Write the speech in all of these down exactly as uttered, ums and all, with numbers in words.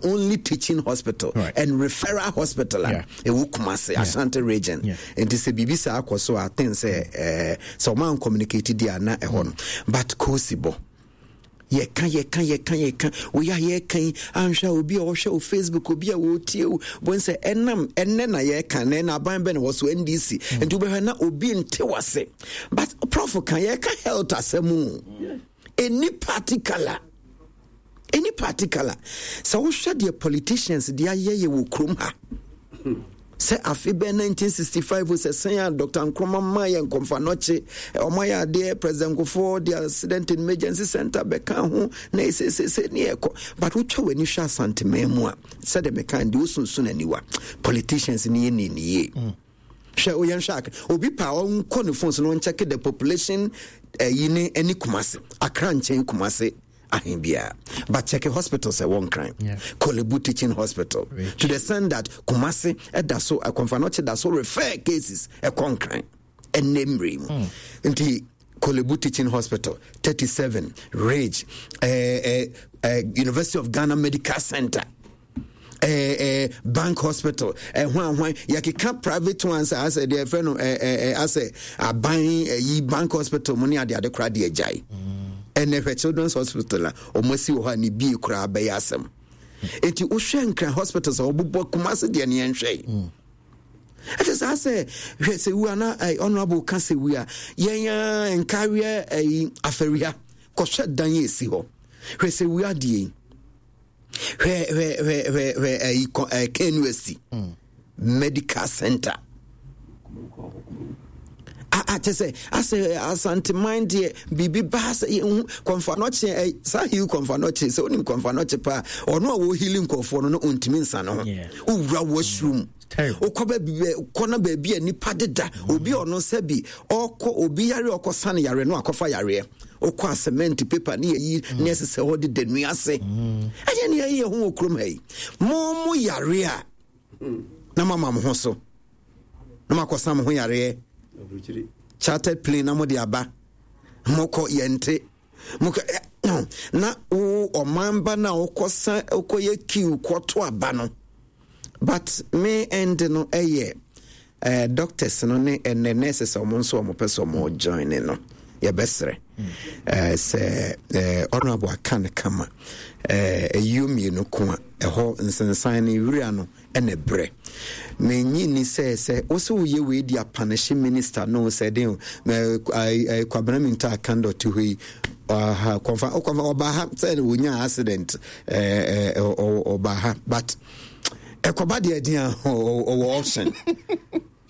only teaching hospital Right. and referral hospital a Yeah. ɛwɔ Kumase, Ashanti Region. Yeah. Nti sɛ biribi saa akɔ so a, I think sɛ eh, sɛ ɔma communicate di a, na ɛhɔ no. But kosi bɔ yɛka yɛka yɛka yɛka woyɛ a, yɛka yi anhwɛ a, obi a ɔhwɛ wo Facebook, obi a wɔtie wo bɔn sɛ ɛnam ɛnɛ na yɛka na ɛna aban bɛ na wɔ so N D C. Nti wobɛhwɛ na obi nte wase, but Prof ka yɛka health asɛm o, ɛni particular any particular. Sɛ wohwɛ deɛ politicians de ayɛ yɛ wɔ kurom ha, sɛ afe bɛn nineteen sixty-five sɛ sɛn a Doctor Nkrumah ma yɛ Komfo Anokye, ɔma yɛ adeɛ, President Kufuor de Accident and Emergency Center bɛka ho na ɛsesese ne yɛkɔ. But wotwa w'ani hwɛ Asanteman mu a, sɛdeɛ meka deɛ wosunsun aniwa, politicians ne yɛ ne ne yie. Hwɛ, oyɛn hwɛ Akra, obi pa ɔnkɔ ne phone so na ɔnkyɛke the population ɛyi ne ɛne Kumase, Akra nkyɛn Kumase ahen biara, but check hospital sɛ wɔn Nkran, Yeah. Korle Bu Teaching Hospital, Rich. to the extent that Kumase ɛda so, Komfo Anokye da so refer cases ɛkɔ Nkran ɛnɛ mmerɛ mu. Nti Korle Bu Teaching Hospital, thirty-seven Ridge, eh, eh, eh, University of Ghana Medical Center, eh, eh, Bank Hospital, eh, hwan hwan, yɛkeka private ones a asɛ deɛ ɛfrɛ no eh, eh, eh, asɛ aban eh, Bank Hospital mu ne adeade koraa deɛ agyae. Ɛnɛ hwɛ Children's Hospital a ɔmo asi wɔ hɔ a ne bie koraa bɛyɛ asɛm. Enti wohwɛ Nkran hospitals a wɔbobɔ, Kumase deɛ ne yɛnhwɛ yi, ɛte saa sɛ hwɛ sɛ wu ana eh, Honorable ka sɛ wu a yɛn a nkareɛ ayi afɛria kɔhwɛ dan yɛ esi hɔ. Hwɛ sɛ wu adeɛ yi, hwɛ hwɛ hwɛ hwɛ hwɛ ayi kɔ ɛɛ K N U S T Medical Center a a kyɛ sɛ asɛ Asanteman deɛ biribi baa sɛ yɛhu Komfo Anokye ɛ saa heal Komfo Anokye sɛ wonim Komfo Anokye paa, ɔno a wɔheal nkɔfoɔ no no ɔntumi nsa ne ho. Yeah. Wowura washroom, Terrible. wokɔ baabi kɔ na baabi a nipa deda, obi a ɔno sɛ bi ɔkɔ obi yare, ɔkɔ sane yare no akɔfa yareɛ, wokɔ a cement paper ne yɛyi ne ɛsesɛ hɔ de da nnua ase. Ɛnyɛ ne yɛyɛ ho wɔ kurom ha yi. Mo mo yare a na mama mo ho so na makɔsa mo ho yareɛ, chartered plane na mode aba, mokɔ yɛnte mokɔ ɛ, no, na wo ɔman ba no a wokɔsa wokɔyɛ queue kɔto aba no. But me end no ɛyɛ eh, doctors no ne ɛnɛ nurses a ɔmo nso ɔmo pɛ sɛ ɔmo join ne no, yɛbɛsrɛ eh, sɛ eh, Honorable aka no kama, eh, ɛyio mmienu ko a ɛhɔ nsensan no wura no ɛna brɛ menyi ni sɛ sɛ wo sɛ woyɛ wei di apanehye minister no sɛ den o, mɛ, ai- ai, Kwabena Minta Akanda ɔte hɔ yi ɔha kɔnfa ɔkɔnfa ɔbaa ha sɛ wonya accident ɛɛ ɛ ɔbaa ha, but ɛkɔba deɛ den a ɔ- ɔwɔ option,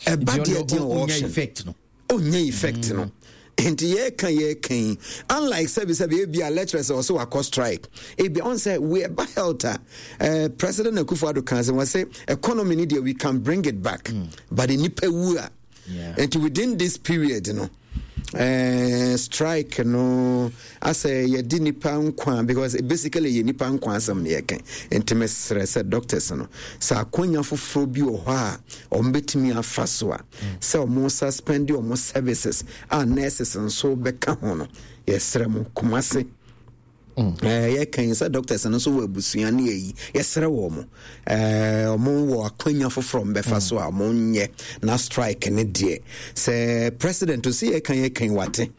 ɛba deɛ den a ɔwɔ ɔnya option effect no. Ɔnya effect no. Nti yɛka yɛka yi, unlike sɛbi sɛbi ebi a lecturers a ɔsɛ wakɔ strike, ebi ɔn sɛ we ɛba health a, uh, President Akufo Addo kan sɛ wɔn sɛ economy ni deɛ, we can bring it back mm. but nipa wu a. Yeah. Nti within this period no, uh, strike no asɛ yɛde nipa nkwa, because basically yɛ nipa nkwa asɛm no yɛka. Nti mesrɛ sɛ doctors no, sɛ akonya foforɔ bi wɔ hɔ a ɔmo bɛtumi afa so a, sɛ ɔmo suspend ɔmo services a nurses nso bɛka ho no, yɛsrɛ mo. Kumase Eh, yɛka yi sɛ doctors no nso wɔ abusua ne ayi, yɛsrɛ wɔ mo, eh, ɔmo wɔ akwanya foforɔ mbɛfa so a ɔmo nyɛ na strike ne deɛ sɛ president sɛ yɛka yɛka yi wate.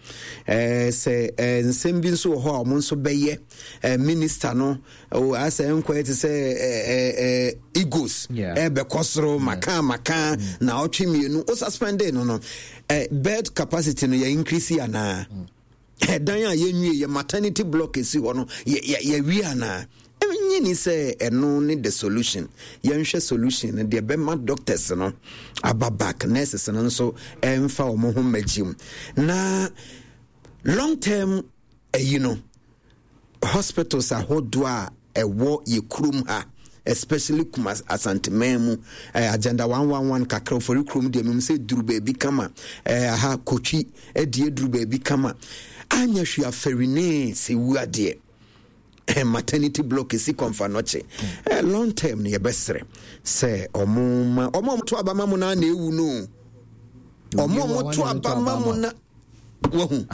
eh, sɛ eh, nsɛm bi nso wɔ hɔ a ɔmo nso bɛyɛ eh, minister no o, asɛ nkɔyɛ te sɛ eh, eh, eh, egos Yeah. ɛbɛkɔ soro maka maka na ɔtwe mmienu o suspend no no eh, bed capacity no yɛ increase anaa? Ɛdan a yɛnwie yɛ maternity block esi hɔ no yɛ yɛ yɛwie anaa? Ɛnyi ni sɛ ɛno ne the solution. Yɛnhwɛ solution no deɛ bɛma doctors no aba back, nurses no nso ɛmfa wɔn ho mmɛgye mu na long term ɛyi no, hospitals ahodoɔ a ɛwɔ yɛ kurom ha, especially Kumas Asanteman mu, eh, Agenda one one one kakra ofori kurom deɛ mem sɛ duru baabi kama, eh, aha Kotwi ɛdeɛ duru baabi kama, anya hwee afɛrinee sɛ wu adeɛ, eh, maternity block esi Komfo Anokye, eh, long term no yɛbɛsrɛ sɛ ɔmo ma ɔmo a ɔmo to aba ma mo na na ewu no, ɔmo a ɔmo to aba ma mo na wahu.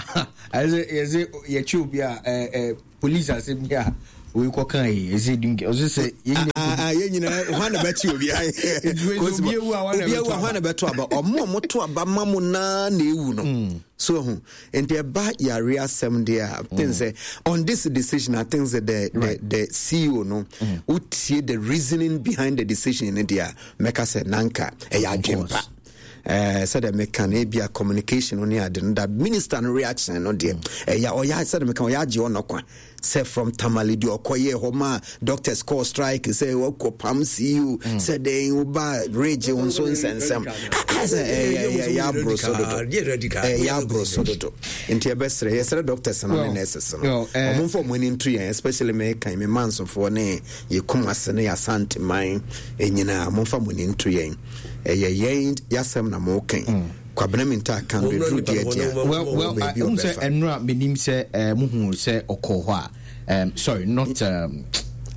Ɛsɛ yɛsɛ yɛkyi obi a ɛɛ ɛɛ police asɛm bi a oyi kɔ kan yi ɛsɛ di nke ɔsɛ sɛ yɛn nyinaa Yɛn nyinaa hwan na bɛkyi obi obi ewu a hwan na bɛto aba ɔmo ɔmo to aba ma mo naa na ewu no so ho nti ɛba yare asɛm deɛ a I think sɛ on this decision I think sɛ the the the C E O no wotie the reasoning behind the decision no deɛ a mɛka sɛ nanka ɛyɛ adwempa uh, sɛdeɛ meka no ebia communication no ne ade no that minister no reaction no deɛ ɛyɛ ɔyɛ sɛdeɛ meka ɔyɛ agye ɔnɔ kwa sɛ from Tamale deɛ ɔkɔyɛ hɔ ma doctors call strike sɛ wɔkɔ pam C E O sɛ dɛn woba regye wo nso nsɛnsɛm sɛ ɛyɛ aboro so dodo, ɛyɛ aboro so dodo. Nti yɛbɛsrɛ yɛsrɛ doctors no ne nurses no ɔmo mfa ɔmo ani nto yɛn, especially meka me mansofoɔ ne yɛkum ase ne yɛasanteman nyinaa, momfa mo ani nto yɛn, ɛyɛ yɛn yɛasɛm na mokan Kwabena Minta kan bɛduru deɛ deɛ. well well n sɛ ɛnura menim sɛ muhu sɛ ɔkɔɔ hɔ a, um, sorry, not um,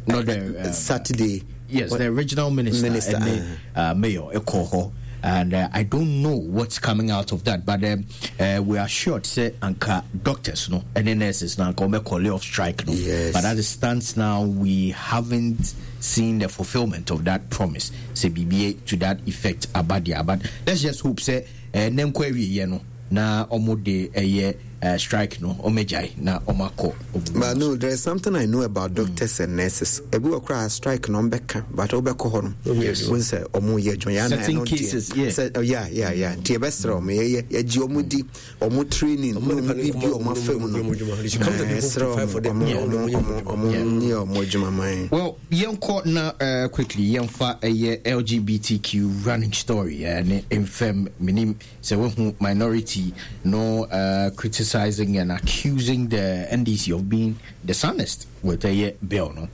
not the uh, Saturday. Yes, the regional minister, minister and uh, mayor ɛkɔɔ hɔ and uh, I don't know what's coming out of that, but um, uh, we are assured sɛ anka doctors no and nurses no anka call off strike no. Yes. But as it stands now, we haven't seen the fulfillment of that promise. Sɛ B B A to that effect abadia. But let's just hope sɛ uh, nenkɔ awie no na ɔmo de ɛyɛ uh, strike no ɔmo agyae na ɔmo akɔ. But no, there is something I know about doctors mm. and nurses. Ebi wɔ koraa strike na ɔmbɛka, but ɔbɛkɔ hɔ no wɔn sɛ ɔmo yɛ adwuma yɛn certain cases, yeah. Sɛ, oh, yeah yeah yeah nti yɛbɛsrɛ ɔmo, yɛyɛ yɛgye ɔmo di ɔmo training ne ɔmo bibi ɔmo afa mu no, ɛsrɛ ɔmo ɔmo ɔmo ɔmo nyɛ ɔmo adwuma man. Well, yɛnkɔ na uh, quickly yɛmfa ɛyɛ L G B T Q running story uh, ne mfɛm menim sɛ wahu minority no uh, criticizing and accusing the N D C of being dishonest with ɛyɛ bill no.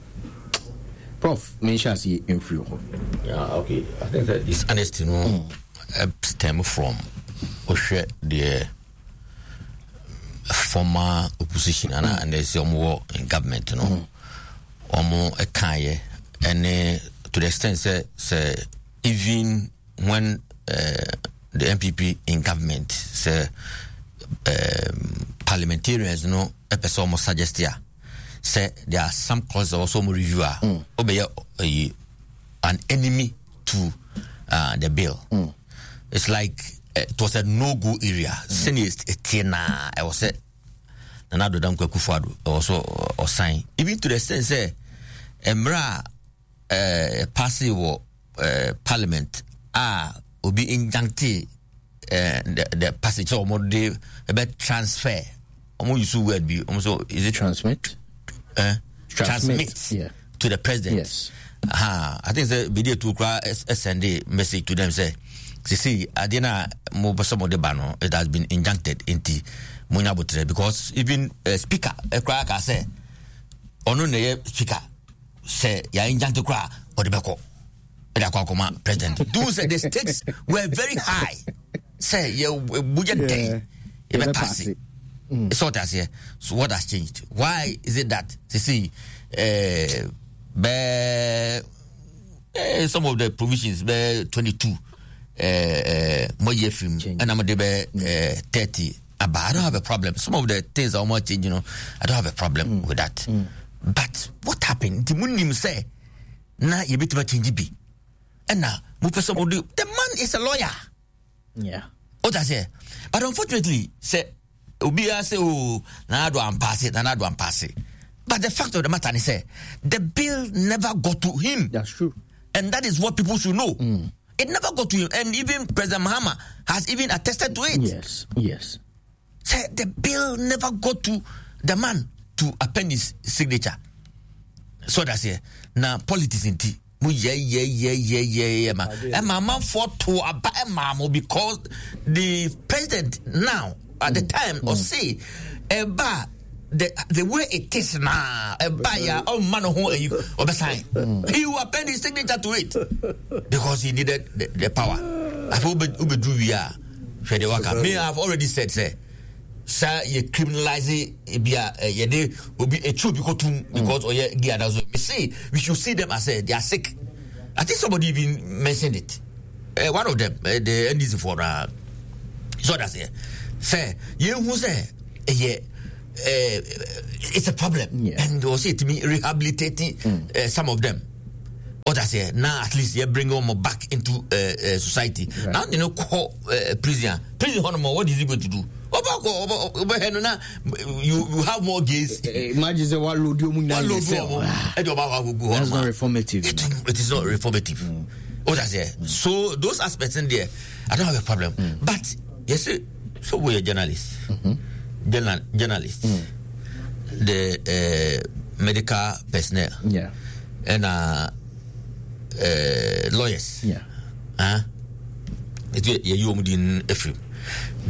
Prof, menhyɛ aseɛ mfiri hɔ. Yeah, okay. I think that dishonesty no mm. stem from wohwɛ deɛ former opposition ana mm. ɛnɛ sɛ ɔmo wɔ in government no ɔmo ɛkaeɛ ɛne to the extent sɛ sɛ even when uh, the N P P in government sɛ um, parliamentarians no ɛpɛ sɛ ɔmo suggest a sɛ there are some clauses also ɔmo review a ɔbɛyɛ ɛyi an enemy to uh, the bill mm. It's like uh, it was a no go area sɛnea ɛteɛ naa ɛwɔ sɛ Nana Addo Dankwa Akufo-Addo ɛwɔ so ɔsan, even to the extent sɛ mmerɛ a ɛɛ pass wɔ ɛɛ parliament a obi injuncte ɛɛ the the passage sɛ wɔn de ɛbɛ transfer, wɔn use word bi wɔn so is it transmit. uh, transmit, transmit yeah. to the president. Yes. uh, I think sɛ bidi etu kura send a message to them sɛ sisi adeɛ na mo bɛ sɛ mo de ba no, it has been injuncted, nti mo nya abotire, because even uh, speaker ɛkura ka sɛ ɔno na ɛyɛ speaker sɛ yà injunct kura ɔde bɛ kɔ ɛde akɔ akɔma president do sɛ the stakes were very high sɛ yɛ budget dɛn yɛ bɛ pass. Sɛ ɔte aseɛ, so what has changed? Why is it that sisi ɛɛ bɛɛ eh, some of the provisions bɛɛ twenty two ɛɛ ɛɛ mo yɛ firi mu ɛna mo de bɛɛ ɛɛ thirty aba? I don't have a problem. Some of the things a wɔn change you know I don't have a problem mm. with that mm. But what happened? Nti mo nim sɛ na yɛbɛtumi change bi ɛna mo pɛ sɛ mo de, the man is a lawyer. Yeah. O ta sɛ, but unfortunately sɛ obiara sɛ o Nana Addo ampass, Nana Addo ampass, but the fact of the matter is sɛ the bill never got to him. That's true. And that is what people should know mm. It never got to him, and even President Mahama has even attested to it. yes yes Sɛ the bill never got to the man to append his signature. So that's it. Na politics nti mo yɛ yɛ yɛ yɛ yɛ yɛ ma ɛma amanfoɔ to aba ɛma mo because the president now at the time ɔse ɛba the the way it is now ɛba ya ɔmma no ho ɛyi ɔbɛsan, he will append his signature to it because he needed the, the power. Afei wobɛduru wie a hwɛ deɛ waka. Me, I have already said sɛ saa yɛ criminalize ebi a yɛde obi etu obi kɔtum because ɔyɛ gay anaso we say we should see them as uh, they are sick. I think somebody even mentioned it, uh, one of them, uh, the N D C for uh, so that's it, sɛ yɛn hu sɛ ɛyɛ uh, it's a problem Yeah. And also it me rehabilitating mm. uh, some of them. What I say now, at least you bring them back into uh, uh, society. Right. Now they no call uh, prison. Prison, what is he going to do? You you have more gays. Imagine say what load you What load you That's not reformative. It, it is not reformative. Mm. What I say. Mm. So those aspects in there, I don't have a problem. Mm. But you see, so we are journalists, mm-hmm. Journal, journalists, mm. the uh, medical personnel, yeah, and uh, uh, lawyers, yeah. Huh? It you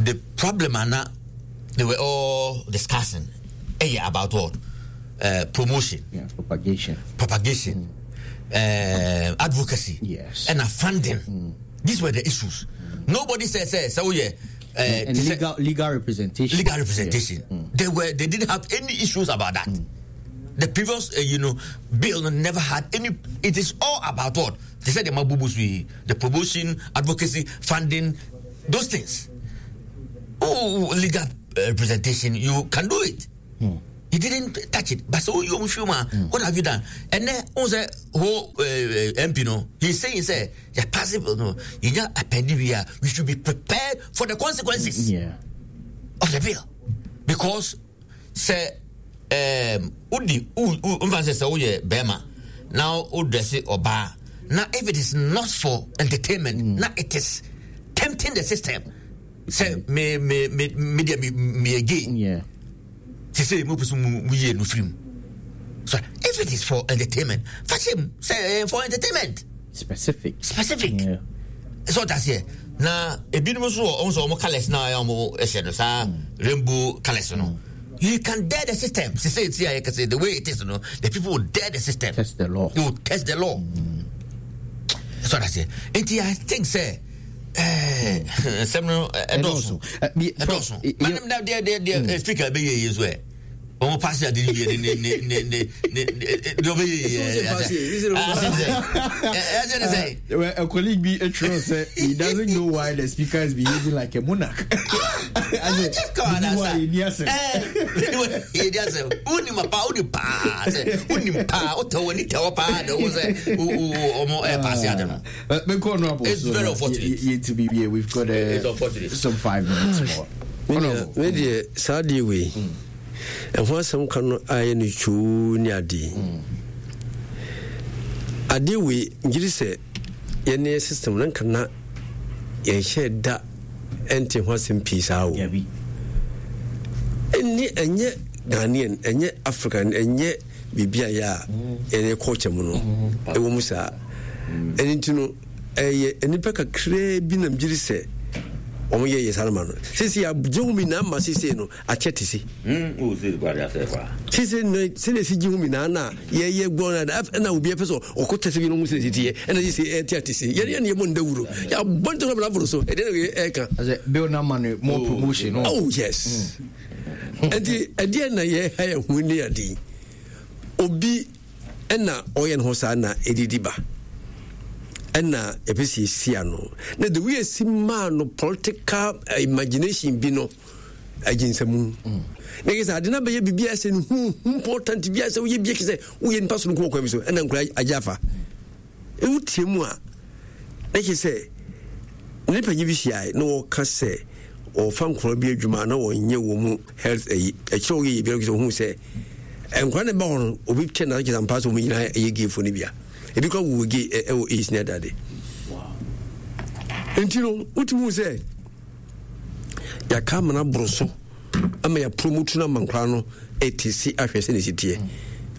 The problem, Anna, they were all discussing hey, about what? Uh, promotion. Yeah, propagation. Propagation. Mm. Uh, advocacy. Yes. And a funding. Mm. These were the issues. Mm. Nobody says, say, so yeah. Uh, and and legal, legal representation. Legal representation. Yeah. Mm. They were. They didn't have any issues about that. Mm. The previous, uh, you know, bill never had any. It is all about what? They said the mabubus, the promotion, advocacy, funding, those things. Oh, legal representation, you can do it. Mm. He didn't touch it. But so you, mm. what have you done? And then, on the whole uh, M P, no, he's saying, say, yeah, possible, no, you just append we we should be prepared for the consequences yeah. of the bill. Because, say, um, Udi, Udi, Bema, now, Udresi Oba. Now, if it is not for entertainment, mm. now it is tempting the system. Say me me me me me me again. Yeah. Say mo person mo ye no film. So if it is for entertainment, fashion say for entertainment. Specific. Specific. Yeah. So that's it. Now ebinom so on so mo colors na ya mo ehye no sa rainbow colors no. You can dare the system. Say say see I can say the way it is no. The people will dare the system. Test the law. You will test the law. Mm. So that's it. And I think say sɛm ɛdɔɔso ɛdɔɔso madam na deɛ deɛ deɛ speaker bɛ yɛ yie so ɛ wɔn paase adi yie ne ne ne ne ne deɛ ɔbɛ yɛ yie ɛsɛ ne sɛ. A colleague bi etwerɛ sɛ he doesn't know why the speaker is behaving like a monarch. Just come on asa ɛɛ yɛ asɛm wunim paa wunim paa sɛ wunim paa o tɛ wɔ ni tɛ wɔ paa de o sɛ o o ɔmɔ ɛ paase adi no. It's very unfortunate. You, you, to be here, we've got uh, some five minutes more. Me dear, sadly we. And once some can I no chu adi. Adi we giri yene system nan kana ye share da enti ho asem peace awo. Enye enye Ghanaian enye African enye bibia ya enye culture mu no. Ewo mu saa. Eni ntino eye enipa kakra bi na giri se omo ye yesarama no sisi ya jehumi na ma sisi no achete si mm o si gwa ya se kwa sisi no sisi si jehumi na na ye ye gbo na na obi e peso okotese bi no mu sisi tie na sisi e ti atisi ye ye ne mo ndawuro ya bonto na bravuro so e de e kan bill na man more promotion. Oh yes, and e de na ye ha ye hu ni adi obi e na oye no sa na edidi ba enna epesi sia no na the way si ma no political imagination bi no aginsamu na kisa ade na be bibia se hu important bia se wo ye bia kise wo ye npa so no kwa mi so enna nkura ajafa e wutie mu a na kise ne panyi bi hia na wo ka se o fa nkura bi adwuma na wo nye wo mu health e e kire wo ye bia kise hu se enkura ne ba ho no obi che na kisa mpa so mu nyina ye gefo ne bia ebi kwa wo ge e o is na dade. Wow. Ntino utimu se ya kama na broso ama ya promote na mankra no etc ahwe se ne sitie.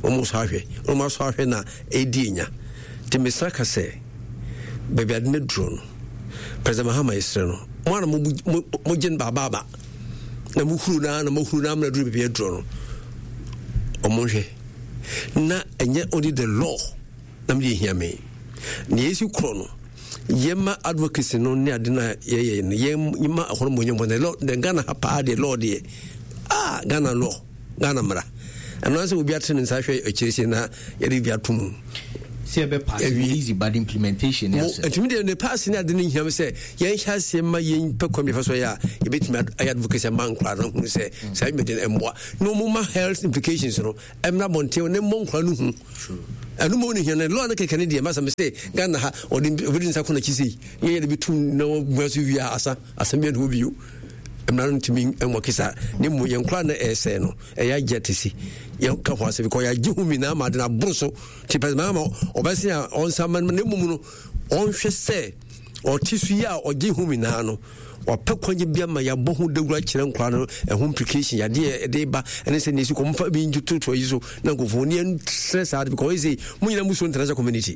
Omo so ahwe, omo so ahwe na edi nya. Ti mesaka se baby ade ne dro no. President Mahama isre no. Mo na mo gyen baba ba. Na mo huru na na mo huru na na dro baby dro no. Omo hwe. Na enye only the law. Na me hia me na yesu kro no yema advocacy no ne ade na ye ye ne yema ahoro mo nyom ne law de Ghana ha pa de law de ah Ghana law Ghana mra ano se obi atene nsa hwe akirisi na ye de bi atom se be pass easy bad implementation yes etimi de ne pass ne ade ne hia me se ye hia se ma ye pe kwam fa so ya ye betimi advocacy man kra no hu se sai me de emboa no mo ma health implications no emra bonte ne mo nkra no hu. Ɛno mo ne hia no law no kɛkɛ ne deɛ masa me sɛ Ghana ha ɔde obɛdi nsa kɔ n'akyi sei yɛyɛ de bɛtum na wɔbua so wie a asa asɛm bi ɛne bio mmara no ntumi nwɔ kesa ne mmom yɛn koraa na ɛsɛe no ɛyɛ agye te si yɛka ho asɛm kɔ yɛagye ho mi na ama ade no aboro so nti pɛ maama ɔbɛse a ɔnsa ma no na mmom no ɔnhwɛ sɛ ɔte so yi a ɔgye ho mi naa no wapɛ kwanye bi ama yɛabɔ ho dawuro akyerɛ nkora no ɛho implication yadeɛ ɛde ba ɛne sɛ nesi kɔmfa bi ntotoa yi so na nkurɔfoɔ ne yɛnsrɛ saa de because ɔyɛ sɛ mo nyinaa mu so international community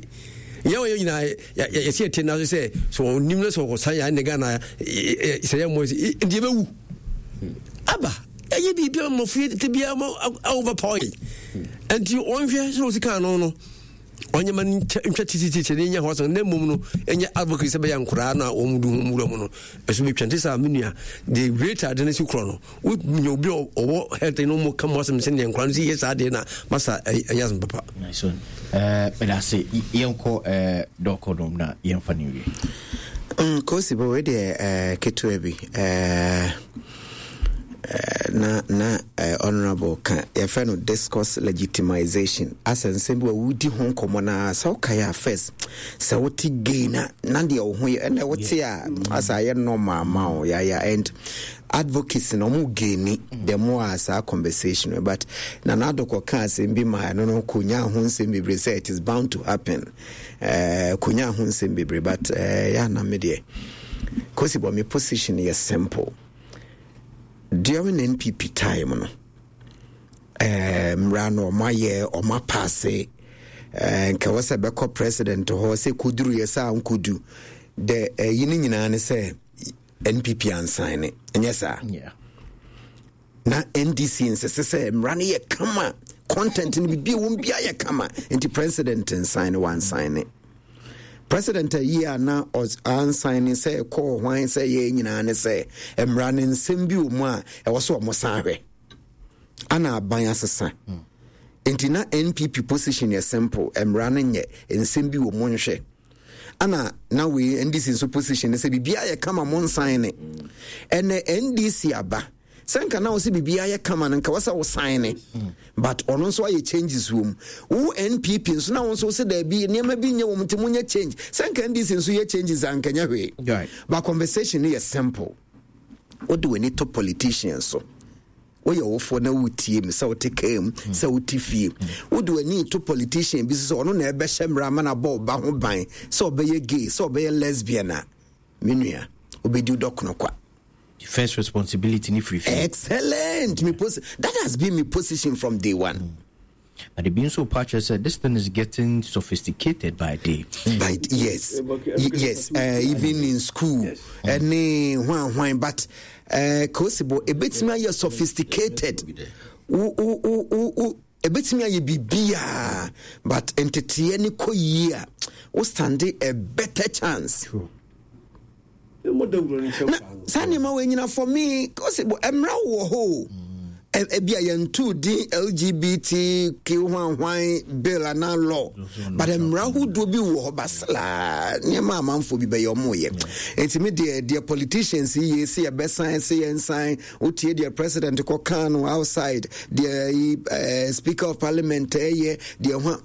yɛn wɔyɛ nyinaa yɛsi ɛte na so sɛ sɛ ɔnim na sɛ ɔsan yɛ ne Ghana sɛ yɛ mmɔ nti yɛbɛwu aba ɛyɛ biribi a mmɔfo yɛ te biara ma overpower yɛn nti ɔnhwɛ sɛ ɔsi kan no no ɔnyɛ ma ntwa titititi ne nyɛ hɔ sɛ na mmom no ɛnyɛ advocate sɛ bɛyɛ nkoraa no a wɔn du ho wura mu no ɛso bɛtwa nti saa me nua the rate ade no si korɔ no wonya obi a ɔwɔ health no mu ka mu asɛm sɛ neɛ nkora no si yɛ saa deɛ na masa ɛnyɛ asɛm papa. Nice one. Meda ase yɛnkɔ dɔkɔ nom na yɛmfa no wie. Kosi bɔ wei deɛ ketewa bi na na honorable ka yɛfrɛ no discourse legitimization asɛ nsɛm bi wɔ wodi ho nkɔmmɔ no a sɛ wokae a first sɛ wote gay na na deɛ wo ho yɛ ɛnna wote a asɛ ayɛ normal ma wo yaya and advocacy na ɔmo gaini the more a saa conversation but na n'adokɔ ka asɛm bi ma ɛno no konya ho nsɛm bebree sɛ it is bound to happen uh, konya ho nsɛm bebree but uh, yɛ ana me deɛ kosi bɔ me position yɛ simple. During N P P time no eh, mmara no ɔmo ayɛ ɔmo apaase eh, nka wɔ sɛ bɛkɔ president hɔ sɛ koduru yɛ sɛ ankodu the ɛyi no nyinaa ne sɛ N P P ansan ne ɛnyɛ saa. Na N D C nsese sɛ mmara no yɛ kama content no biribi a wɔn bia yɛ kama nti president nsan ne wansan ne president ayi a na ansan ne sɛ kɔɔ hwan sɛ yɛ nyinaa ne sɛ mmara no nsɛm bi wɔ mu a ɛwɔ so ɔmo san hwɛ ana aban asesa nti na N P P position yɛ simple mmara no nyɛ nsɛm bi wɔ mu nhwɛ ana na we N D C nso position ne sɛ biribiara yɛ kama mo nsan ne ɛnɛ N D C aba sɛ nka na wo sɛ biribiara yɛ kama no nka wɔ sɛ wo sign ne but ɔno nso ayɛ changes wɔ mu wo N P P nso na wo nso sɛ daabi nneɛma bi nyɛ wɔ mu nti monyɛ change sɛ nka N D C nso yɛ changes a nka nyɛ hwee but conversation no yɛ simple wode w'ani to politicians so woyɛ wofoɔ na wotie mu sɛ wote kaa mu sɛ wote fie wode w'ani to politician bi so sɛ ɔno na ɛbɛhyɛ mmara ama no abɔ ɔba ho ban sɛ ɔbɛyɛ gay sɛ ɔbɛyɛ lesbian a me nua wobɛdi dɔkono kwa. First responsibility ni free. Excellent. Me posi- that has been my position from day one. Mm. But the being so patchy said this thing is getting sophisticated by day. By yes, yes, uh, even in school, any one one. But uh, possible a bit more sophisticated. O o o o o. A bit more you be beer, but entity any ko year. O stand a better chance. True. Na saa nneɛma wɔ nyina for me kɔsi bɔ mmra wɔ hɔ ebi a yɛn tu din L G B T Q hwan hwan bill ana law but mmra ahodoɔ bi wɔ hɔ basala nneɛma amanfoɔ bi bɛyɛ ɔmo yɛ nti mi deɛ deɛ politicians yi yɛ si yɛ bɛsan si yɛ nsan wotie deɛ president kɔ kan no outside deɛ ɛɛ speaker of parliament ɛyɛ deɛ ho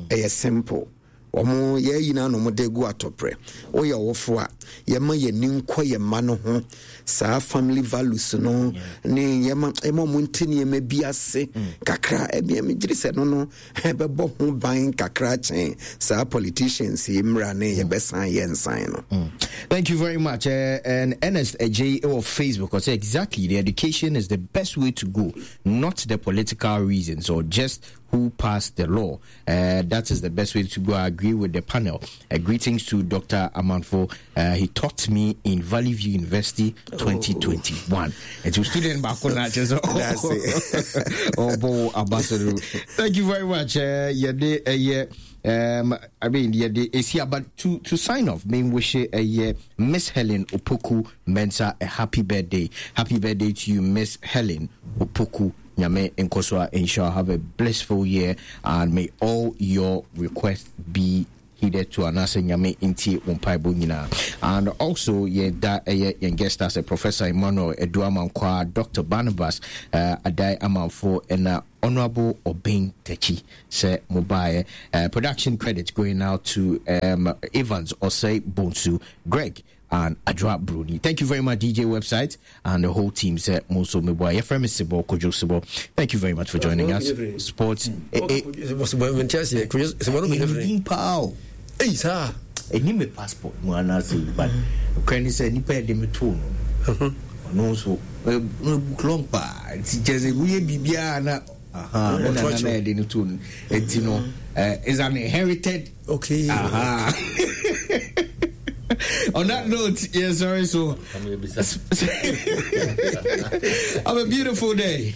ɛyɛ simple. Omo ye yina no mo de gu atopre wo ye wofo a ye ma ye ni nkɔ ye ma no ho saa family values no ne ye ma ye ma mo ntini ma bi ase kakra e bi me giri se no no e be bo ho ban kakra chen saa politicians yi mra ne ye be san ye nsan no. Thank you very much. Uh, and Ernest J or Facebook I say exactly the education is the best way to go, not the political reasons or just who passed the law. Uh, that is the best way to go. I agree with the panel. Uh, greetings to Doctor Amanfo. Uh, he taught me in Valley View University twenty twenty-one. Oh. And to student back on that, that's it. Oh, boy, ambassador. Thank you very much. Uh, yeah, uh, yeah. Um, I mean, yeah, the, it's here, but to, to sign off, may wish a uh, yeah, Miss Helen Opoku Mensah a happy birthday. Happy birthday to you, Miss Helen Opoku Nyame Nkosua. Inshallah, have a blissful year and may all your requests be Hitherto anaasɛ Nyame ntie wo mpaebɔ nyinaa. And also yɛda ɛyɛ yɛn guest ase, Professor Emmanuel Adu Amankwaa, Doctor Barnabas uh, Adai Amanfo, ɛna Honorable Obeng Takyi sɛ mobaeɛ. uh, production credit going out to um, Evans Osei Bonsu, Greg and Adra Bruni. Thank you very much, D J Website and the whole team. Sɛ mo nso meboa. Yɛfrɛ me Sibo Kojo Sibo. Thank you very much for joining us. Sports. Eh, eh, Ɛdin paa o. Ei, saa. Ɛni me passport mu anaasɛ, but kwan ne sɛ nipa yɛde me too no, ɔno nso book long paa, nti kyerɛ sɛ woyɛ biribiara na aha me nana na yɛde no too no, nti no is an inherited. Okay. Aha. On that note, yeah, sorry, so have a beautiful day.